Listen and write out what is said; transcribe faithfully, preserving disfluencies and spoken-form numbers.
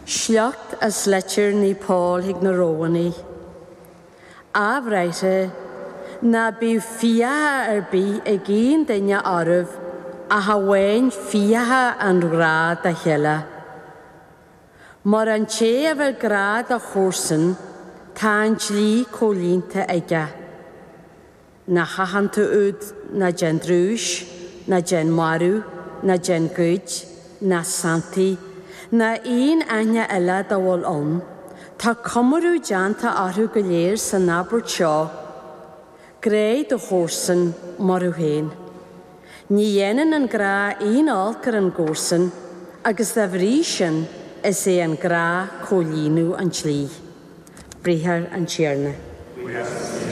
Sliocht as Litir Naomh Pól chuig na Rómhánaigh. A bhráithre, ná bíodh fiacha ar bith ag aon duine oraibh ach amháin fiacha an ghrá dá chéile. Mar an té a bhfuil grá dá chomharsan, tá an dlí comhlíonta aige. Na haitheanta úd ná déan drúis, ná déan marú, ná déan goid, ná santaigh, ná aon aithne eile dá bhfuil ann, tá cumrú déanta orthu go léir san abairt seo, Gráigh do chomharsan mar thú féin. Ní dhéanann an grá aon olc ar an gcomharsan, agus dá bhrí sin is é an grá comhlíonadh an dlí. Briathar an Tiarna.